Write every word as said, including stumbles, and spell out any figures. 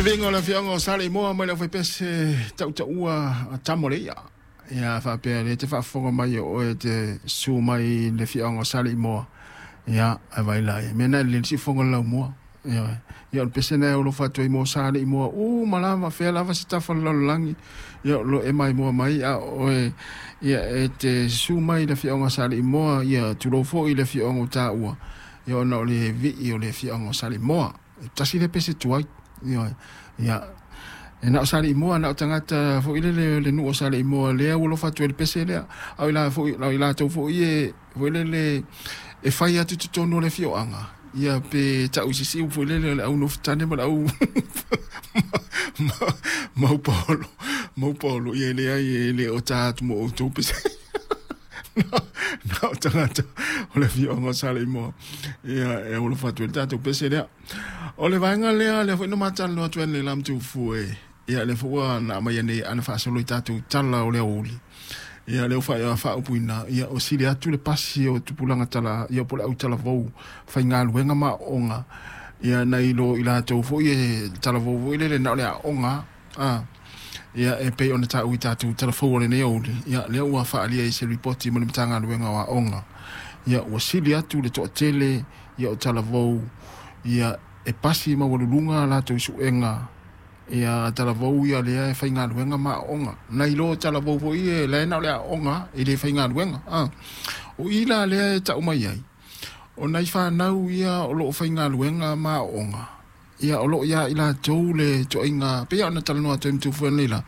Viiga o le afioaga o Saleimoa mai le aufaipese tautaua a tama o le ia. Ia faapea lea te faafofoga mai o oe te susu mai le afioaga o Saleimoa. Ia ae vai la ia. Mea na e lelei le siufofoga o le laumua. Ia, ia o le pese lena e alofa atu ai mo Saleimoa uma lava fea lava se tafa o le lalolagi. Ia o lo o e maimoa mai a o oe ia e te susu mai le afioaga o Saleimoa, ia tulou foi le afioaga o taua. Ia ona o le vii o le afioaga o Saleimoa. E tasi le pese tuai. Ia, ia e na o Saleimoa, na o tagata foi lele le nuu o Saleimoa lea ua alofa atu ai i le pese lea. A o i la foi, o i latou foi e foi lele e fai atu i totonu o le afioaga. Ia pe tau i se isi upu foi lele o le au nofotane ma le au maupaolo, maupaolo, ia e leai e le o ta atu mo outou pese. Na o tagata o le afioaga o Saleimoa. Ia e alofa atu ai le tatou pese lea. O le vaega lea, lea foi na matalanoa atu ai nei la Matufu e. Ia lea foi ua na aumai nei ana faasolo i tatou tala o le aoauli. Ia lea ua faaupuina, ia o sili atu le pasi o tupulaga tala, ia po o le au talavou faigaluega ma aoga. Ia nai lo i latou foi e talavou foi lele na o le aoga. Ah. Ia e pei ona taua i tatou talafou o lenei aoauli. Ia lea ua faaalia i se ripoti ma le Matagaluega o Aoga. Ia ua sili atu le toatele ia o talavou ia e pasi maualuluga latou suega ia talavou ia lea e faigaluega ma aoga. Nai lo talavou foi e la e na o le aoga e le faigaluega. Ah. O i la lea e tau mai ai, o nai whanau ia o loo faigaluega ma aoga. Ia o loo ia i latou le toaiga, pei ona talanoa atu ai ma Tufu nei la.